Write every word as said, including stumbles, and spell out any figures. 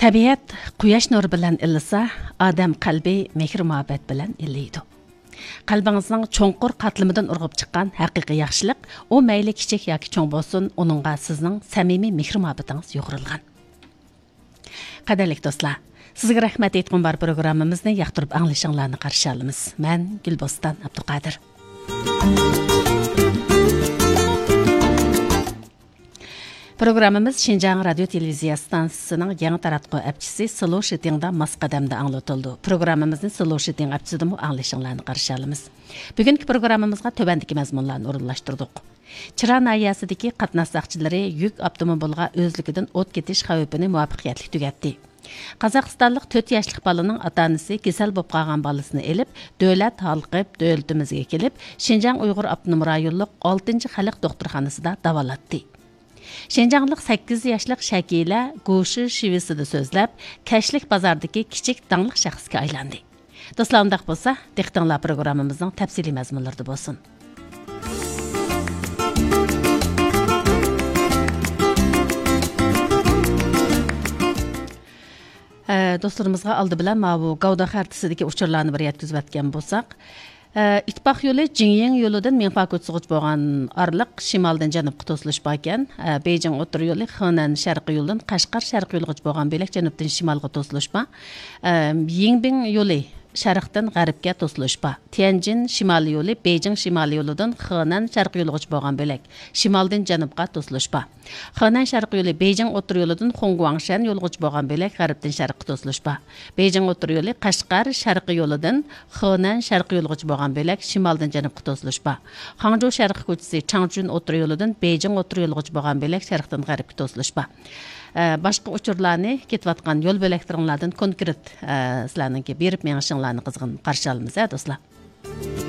تەبىئەت قۇياش نۇرى بىلەن ئىللىسا، ئادەم قەلبى مېھىر-مۇھەببەت بىلەن ئىللىيدۇ. قەلبىڭىزنىڭ چوڭقۇر قاتلىمىدىن ئۇرغۇپ چىققان ھەقىقىي ياخشىلىق، ئۇ مەيلى كىچىك ياكى چوڭ بولسۇن، ئۇنىڭغا سىزنىڭ سەمىمىي مېھىر-مۇھەببىتىڭىز يۇغۇرۇلغان. قەدىرلىك دوستلار، سىزگە رەھمەت ئېيتقۇم بار پروگراممىمىزنى ياقتۇرۇپ ئاڭلىشىڭلارنى قارشى ئالىمىز. مەن گۈلبوستان ئابدۇقادىر. پروگراممىمىز شىنجاڭ رادىيو تېلېۋىزىيە ئىستانسىسىنىڭ يېڭى تاراتقۇ ئەپچىسى سلو شىتىڭدا ماس قەدەمدە ئاڭلىتىلىدۇ. پروگراممىمىزنى سلو شىتىڭ ئەپچىسىدىمۇ ئاڭلىشىڭلارنى قارشى ئالىمىز. بۈگۈنكى پروگراممىمىزغا تۆۋەندىكى مەزمۇنلارنى ئورۇنلاشتۇردۇق. چىرا ناھىيەسىدىكى قاتناش ساقچىلىرى يۈك ئاپتوموبىلىغا ئۆزلۈكىدىن ئوت كېتىش خەۋپىنى مۇۋەپپەقىيەتلىك تۈگەتتى. قازاقىستانلىق تۆت ياشلىق بالىنىڭ ئاتا-ئانىسى كېسەل بولۇپ قالغان بالىسىنى ئېلىپ، دۆلەت ھالقىپ دۆلىتىمىزگە كېلىپ، شىنجاڭ ئۇيغۇر ئاپتونوم رايونلۇق ئالتىنچى خەلق دوختۇرخانىسىدا داۋالاتتى. شىنجاڭلىق سەككىز ياشلىق شەكىلە گۇشى شىۋىسىدا سۆزلەپ، كەچلىك بازاردىكى كىچىك داڭلىق شەخسكە ئايلاندى. دوستلار، ئۇنداق بولسا، دىققىتىڭلار پروگراممىمىزنىڭ تەپسىلىي مەزمۇنلىرىدا بولسۇن. ئە، دوستلىرىمىزغا ئالدى بىلەن ماۋۇ گاۋدا خەرىتىسىدىكى ئۇچۇرلارنى بىر يەتكۈزۈۋەتكەن بولساق، ئە، ئىتتىپاق يولى جىڭيىڭ يولىدىن مىڭفا كوچىسىغىچە بولغان ئارىلىق شىمالدىن جەنۇبقا توسۇلۇش باركەن. ئە، بېيجىڭ ئوتتۇرا يولى خېنەن شەرقىي يولىدىن قەشقەر شەرقىي يولىغىچە بولغان بۆلەك جەنۇبتىن شىمالغا توسۇلۇش بار. ئە، يىڭبىڭ يولى شەرقتىن غەربكە توسۇلۇش بار. تيەنجىن شىمالىي يولى بېيجىڭ شىمالىي يولىدىن خېنەن شەرقىي يولىغىچە بولغان بۆلەك شىمالدىن جەنۇبقا توسۇلۇش بار. خېنەن شەرقىي يولى بېيجىڭ ئوتتۇرا يولىدىن خۇڭگۇاڭشەن يولىغىچە بولغان بۆلەك غەربتىن شەرققە توسۇلۇش بار. بېيجىڭ ئوتتۇرا يولى قەشقەر شەرقىي يولىدىن خېنەن شەرقىي يولىغىچە بولغان بۆلەك شىمالدىن جەنۇبقا توسۇلۇش بار. خاڭجۇ شەرقىي كوچىسى چاڭچۈن ئوتتۇرا يولىدىن بېيجىڭ ئوتتۇرا يولىغىچە بولغان بۆلەك شەرقتىن غەربكە توسۇلۇش بار. ئە، باشقا ئۇچۇرلارنى كېتىۋاتقان يول بۆلەكلىرىڭلاردىن كونكرېت، ئە، سىلەرنىڭكى بېرىپ مېڭىشىڭلارنى قىزغىن قارشى ئالىمىز، ھە، دوستلار.